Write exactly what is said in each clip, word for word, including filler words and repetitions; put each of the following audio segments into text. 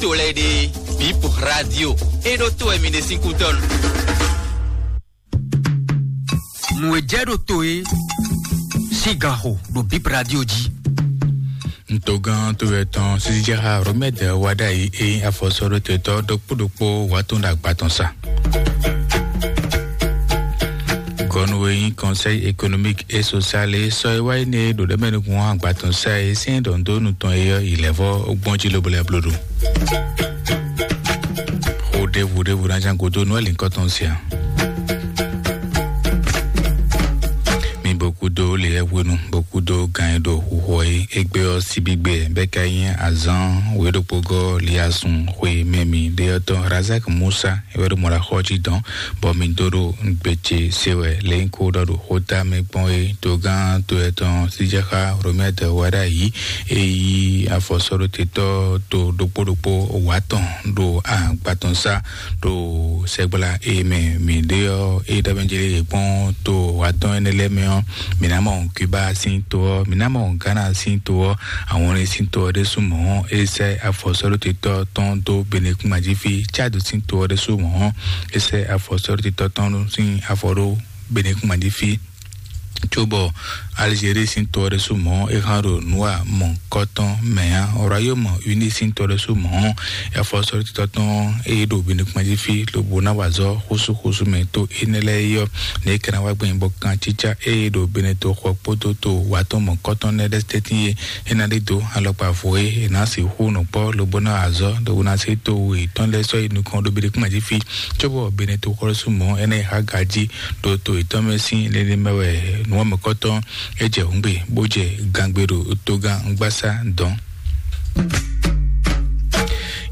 to lɛ́ɛ ɖe, Bip Radio, é ɖó to wɛ mi ɖe sín kútɔ́ nu. Nǔ e jɛ ɖo to é sín ganxo ɖo Bip Radio jí. Ntogán to wɛ tɔn sisi jɛ xa Romɛd wa ɖa yi e afɔsɔɖo te tɔ ɖokpó ɖokpó wa tɔn ɖo agba tɔn sa. Gɔnu e nyí Conseil économique et social e sɔ e wá yi ne ɖo ɖɛmɛ nukun agba tɔn sa e sín ɖɔndonu tɔn e yɔ yi lɛvɔ gbɔn jí lobo lɛ bloɖo. Xo ɖevo ɖevo na jan godo nú alinkɔ tɔn sia. Mi bokudo le hwenu, bokudo gan e ɖo huxɔ e egbe ɔ sibigbe bɛ ka nyí azan we ɖokpogɔ liasun xwe mɛ mi ɖe ɔtɔ Razak Musa e wɛ ɖo mɔ ɖo axɔ jí dɔn, bɔ mi dó ɖo gbèjè se wɛ lɛ nyí kó ɖɔ ɖo xóta mɛ gbɔn é. Togán to etɔn Sijaxa Romɛd wɛ ɖo ayǐ e yí afɔsɔɖotetɔ́ to ɖokpó ɖokpó wǎ tɔn ɖo agbatɔn sá ɖo sɛgbla e mɛ mi ɖe ɔ́, e ɖɔ mɛ jeli yě kpɔ́n to wǎ tɔn énɛ́ lɛ́ɛ mɛ ɔ́, mi ná mɔ Cuba sín to ɔ́, mi ná mɔ Ghana sín to ɔ́, àwọn ní sín to ɔ́ ɖésú mɔ̌ é sɛ́ afɔsɔ́ɖótetɔ́ tɔn dó Benekúnmajífí. Tchad sín to ɔ́ ɖésú mɔ̌ é sɛ́ afɔsɔ́ɖótetɔ́ tɔn sín afɔ ɖó Benekúnmajífí. Cóbɔ Algérie sín to ɔ́ ɖésú mɔ̌ é hán ɖo nǔ wa mɔ̌hunkɔtɔn mɛ ǎ. Royaume Uni sín to ɔ́ ɖésú mɔ̌ afɔsɔ́ɖótetɔ́ tɔn é ɖo Benekúnmajífí lobo ná wa azɔ̌ xúsúxúsú mɛ to énɛ́ lɛ́ɛ é ɔ́, nɛ̌ é ka ná wá gbɛn bɔ kancícá e ɖo Beneto xɔ kpódó to wǎtɔn mɔ̌kɔtɔn lɛ́ɛ ɖɛ́ tɛ́ntin e é ná ɖe dó alɔkpa vo e è nǎ sixú nɔ kpɔ́ lobo ná azɔ̌ ɖo ná se to yětɔn lɛ́ɛ sɔ́ yi nukɔn ɖo Beneto kúmajífí, cóbɔ Beneto xɔlɔ́sú mɔ̌ énɛ́ e há gají ɖo to yětɔn mɛ sín lélé mɛ wɛ nǔ mɔ̌kɔtɔn é jɛ hǔngbe bó jɛ gangbe ɖo togán gbásá dɔn.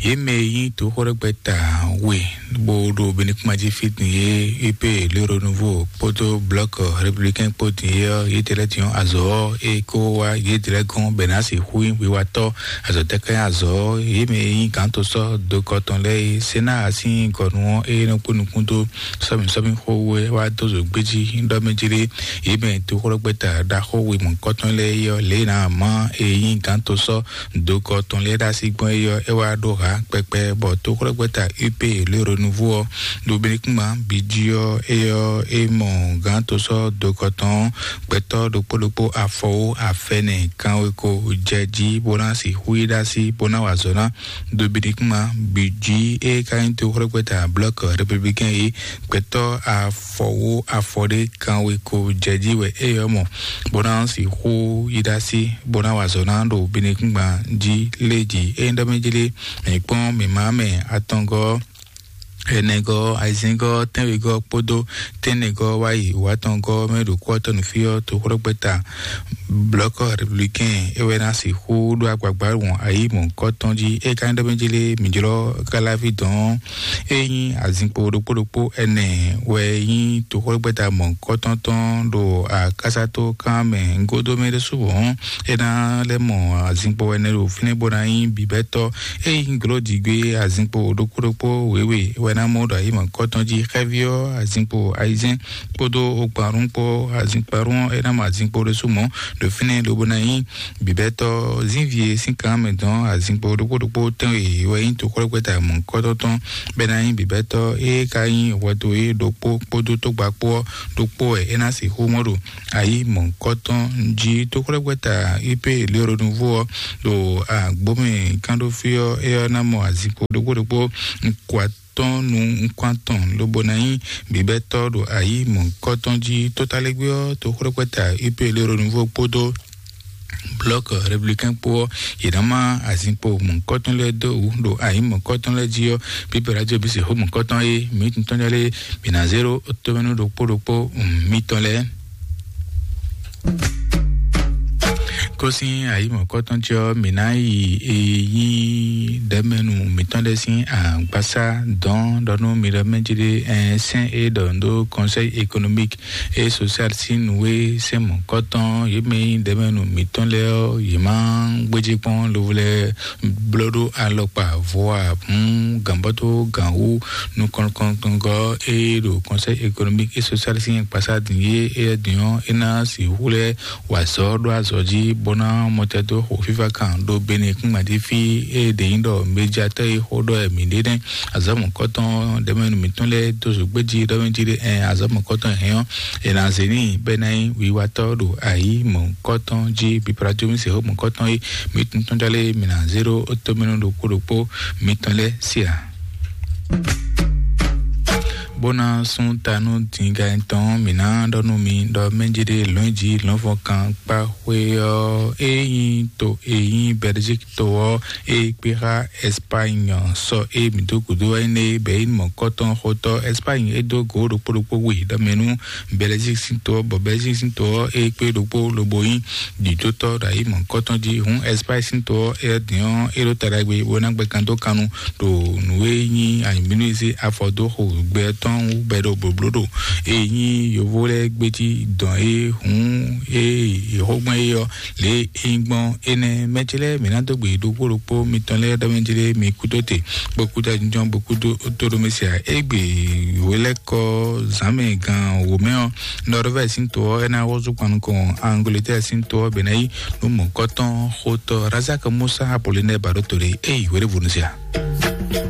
Yě mɛ e nyí toxóɖɛgbɛta we bó ɖo Benikúmají fí din é, U P, le Renouveau kpódó Bloc Républicain kpó din é ɔ́, yě tɛ́ lɛ́ din ɔ́, azɔ̌ ɔ́ é kó wá yě tɛ́ lɛ́ gɔ́n bɔ è nǎ sixú nyí wiwatɔ́. Azɔ̌ tɛ́ ká nyí azɔ̌ ɔ́? Yě mɛ e nyí gǎntosɔ́ dokɔ tɔn lɛ́ɛ é, Sénaa sín gɔnu ɔ́ é nɔ kpó nukún dó sɔ́mi sɔ́mi xó wɛ wá dó zǒ gbéjí ɖɔ mɛ jlé. Yě mɛ toxóɖɛgbɛta ɖaxó we mɔ̌kɔtɔn lɛ́ɛ é ɔ́, lě e è nǎ má e nyí gǎntosɔ́ dokɔ tɔn lɛ́ɛ ɖo así gbɔn é ɔ́, é wá ɖó hǎ kpɛkpɛ, bɔ toxóɖɛgbɛta U P, le Renouveau ɔ́, ɖo Benikúma bǐ jí ɔ́, é ɔ́, é mɔ gǎntosɔ́ dokɔ tɔn gbɛtɔ́ ɖokpó ɖokpó afɔwó afɛnɛ kanweko jɛ jí bó ná sixú yi ɖó así bó ná wa azɔ̌ ná. Ɖo Benikúma bǐ jí é ka nyí toxóɖɛgbɛta Bloc Républicain é, gbɛtɔ́ afɔwó afɔ ɖé kanweko jɛ jí wɛ é ɔ́ mɔ, bó ná sixú yi ɖó así bó ná wa azɔ̌ ná ɖo Benikúngban jí lé jí. É nyí ɖɔ mɛ jlé mǐ kpɔ́n mǐmá mɛ atɔngɔ́, ɛnɛgɔ́, ayizɛ́ngɔ́, tɛ́nwegɔ́ kpódó tɛ́nnɛgɔ́ wá yi wǎtɔngɔ́ mɛ ɖo kú ɔ́ tɔn nǔ fí ɔ́, toxóɖɔgbɛ́ta Bloc Républicain é wɛ ná sixú ɖó agbagba wɔn ayǐ mɔ̌hunkɔtɔn jí. É ka nyí ɖɔ mɛ jlé mǐ jlɔ́ káláví dɔn ɔ́, é nyí azinkpo ɖokpó ɖokpó ɛnɛ wɛ nyí toxóɖɔgbɛ́ta mɔ̌hunkɔtɔn tɔn ɖo akásátó kan mɛ gúdo mɛ ɖésú hɔn. É ná lɛ́ mɔ azinkpo ɛnɛ ɖo fínɛ́ bó ná nyí bǐbɛ́tɔ́. É nyí glɔ́ ɖigbé azinkpo ɖokpó ɖokpó wěwe wɛ ná mɔ ɖo ayǐ mɔ̌hunkɔtɔn jí. Xɛ́ví ɔ́, azinkpo ayizɛ́n kpódó okpanrún kpó azinkpanrún ɔ́, é ná mɔ azinkpo ɖésú mɔ̌ ɖo fínɛ́ lobo ná nyí bǐbɛ́tɔ́. Zínvie sín kan mɛ dɔn azinkpo ɖokpó ɖokpó tɛ́nwe wɛ nyí toxóɖɔgbɛ́ta mɔ̌hunkɔtɔn tɔn bɔ é ná nyí bǐbɛ́tɔ́. É ka nyí hwɛto e ɖokpó kpódó tógbá kpó ɔ́ ɖokpó wɛ é ná sixú mɔ ɖo ayǐ mɔ̌hunkɔtɔn jí. Toxóɖɔgbɛ́ta U P, le Renouveau ɔ́, ɖo agbómɛ kánɖófí ɔ́, é ɔ́ ná mɔ azinkpo ɖokpó ɖokpó nukún atɔn nú nukún atɔn lobo ná nyí bǐbɛ́tɔ́ ɖo ayǐ mɔ̌hunkɔtɔn jí. Tótalégbé ɔ́, toxóɖɔgbɛ́ta U P, le Renouveau kpódó Bloc Républicain kpó ɔ́, yě ná má azinkpo mɔ̌hunkɔtɔn lɛ́ɛ dó wǔ ɖo ayǐ mɔ̌hunkɔtɔn lɛ́ɛ jí ɔ́, Bíbélì jí bǐ sixú mɔ̌hunkɔtɔn e mǐ tɔn lɛ́ɛ mǐ ná zé ɖó tomɛnu ɖokpó ɖokpó mitɔn lɛ́ɛ. Kó sín ayǐ mɔ̌hunkɔtɔn jí ɔ́, mǐ ná yi e nyí ɖɛ̌mɛnu mǐtɔn lɛ́ɛ sín agbasá dɔn ɖɔ nú mi ɖɔ mɛ jí ɖé, ɛn sɛ́n e ɖɔ n ɖó Conseil économique et social sín nǔ e sɛ́n mɔ̌hunkɔtɔn yě mɛ e nyí ɖɛ̌mɛnu mǐtɔn lɛ́ɛ ɔ́, yě má gbéjé kpɔ́n lobo lɛ́ɛ blɔ́ ɖó alɔkpa vo ǎ. Hǔn gǎnbɔ́tó gǎnwú nukɔnkɔntɔngɔ́ e ɖo Conseil économique et social sín akpasá din é, éyɛ́ din ɔ́, é ná sixú lɛ́ wa azɔ̌ ɖó azɔ̌ jí bó ná mɔtɛ dó xo fífá kan ɖo Benin kúngbàdí fí. Ée ɖě nyí ɖɔ mejatɔ́ e xó ɖɔ wɛ mǐ ɖe nɛ́, azɔ̌ mɔ̌kɔtɔn ɖɛ̌mɛnu mǐtɔn lɛ́ɛ dó zǒgbéjí ɖɔmɛjí ɖé. Ɛn, azɔ̌ mɔ̌kɔtɔn hɛn ɔ́, è nǎ zě n'i bɔ é ná nyí wiwatɔ́ ɖo ayǐ mɔ̌kɔtɔn jí. Biplatómi se xó mɔ̌kɔtɔn e mǐ tuntun jálé mǐ ná zé ɖó tómɛnu ɖokpó ɖokpó mǐtɔn lɛ́ɛ sí ǎ. Bó ná sún ta nú dǐngán tɔn, mǐ ná ɖɔ nú mi ɖɔ mɛjéɖé lɔ̌nji lɔ̌nfɔkan kpá xwé ɔ́, é nyí to e nyí Belgique to ɔ́, é kpé xá Espagne sɔ é mǐ dó gǔdo wɛ nɛ bɛ é mɔ̌kɔtɔn xotɔ́ Espagne é dó gǒ ɖokpó ɖokpó wi ɖɔ mɛ nú Belgique sín to ɔ́, bɔ Belgique sín to ɔ́ é kpé ɖokpó lobo nyí ɖǐdótɔ́ ɖo ayǐ mɔ̌kɔtɔn jí. Hǔn Espagne sín to ɔ́, é dǐn ɔ́, é ɖó ta ɖagbe bó ná gbɛ kan dó kannu ɖo nǔ e nyí anyǐmínúzé afɔ dó xo gbɛ tɔn wú bɛ ɖo blǒbló ɖo e nyí yovó lɛ́ɛ gbéjí dɔn é hǔn e yě xó gbɔn é ɔ́, lě e é nyí gbɔn énɛ́. Mɛ ce lɛ́ɛ mǐ ná dó gbe ɖokpó ɖokpó mitɔn lɛ́ɛ ɖɔ mɛ ce lɛ́ɛ mi kú dó te, bó kú dó ajínjɔ́n, bó kú dó tó ɖó mɛ sia. Égbé wělɛ́kɔ zǎnmɛ gan wǒ mɛ ɔ́, Norvège sín to ɔ́, é ná hɔ́zú kpan nukɔn Angleterre sín to ɔ́ bě ná yí nú mɔ̌kɔtɔn xotɔ́ Razak Musa Apollinaire Baɖótole. Éyi wěɖévonu sia.